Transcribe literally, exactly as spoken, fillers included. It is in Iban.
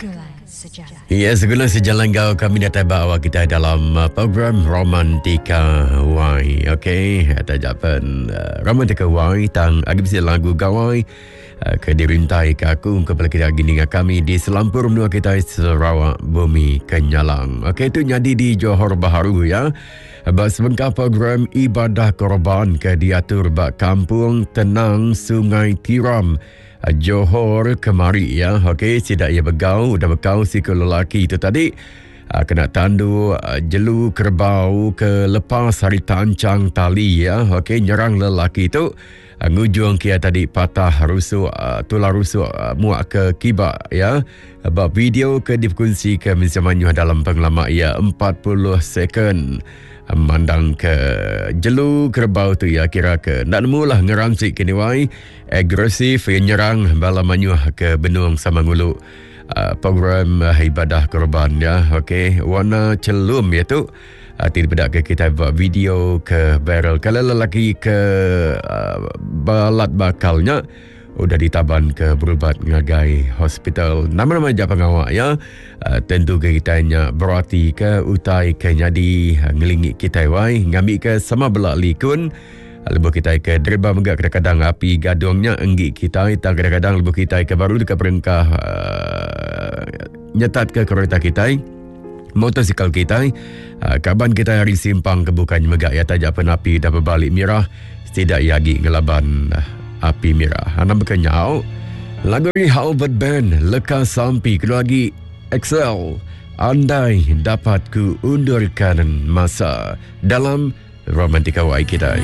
Begulai Sejalai. Ya, segulai sejalan kau kami datang bawa kita dalam uh, program Romantika Y. Okey, atau jawapan uh, Romantika Y tang agi bisi lagu gawai uh, ke dirintai ke aku kepada kita gini dengan kami di selampur menua kita Sarawak Bumi Kenyalang. Okey, itu nyadi di Johor Bahru ya. Ba sebengkah program ibadah korban ke diatur ba Kampung Tenang Sungai Tiram Johor kemari ya. Okey, sidak ia begau, udah bekau si ke lelaki itu tadi kena tandu jelu kerbau ke lepas hari tancang tali ya. Okey, nyerang lelaki itu ngujung kia tadi patah rusuk, tulang rusuk muak ke kibak ya. Ba video ke dikongsi ke mensemanyuh dalam pengelama ya empat puluh second. Mandang ke jelu kerbau tu ya, kira ke nak nemulah ngeransik kini wai agresif nyerang bala manyuh ke benung sama ngulu uh, program uh, ibadah korban ya. Okey, warna celum ya tu uh, tidak bedak ke kita buat video ke viral. Kalau lelaki ke uh, balat bakalnya udah ditaban ke berubat ngagai hospital. Nama-nama je pengawak ya. Uh, tentu ke kita nya berarti ke utai ke nyadi uh, ngelingi kita wai ngambil ke sama belak likun. Uh, lebuh kita ke derba megak kadang-kadang api gadungnya enggi kita, tang kadang-kadang lebuh kita ke baru dekat perengkah uh, nyetat ke kereta kita, motosikal kita, uh, kaban kita hari simpang ke bukan megak ya tajak penapi dah berbalik merah, tidak yagi ngelaban uh, api merah. Hana berkenyau. Lagu ni Albert Band Leka Sampi keluar lagi Excel. Andai dapat ku undurkan masa dalam Romantika Y kita.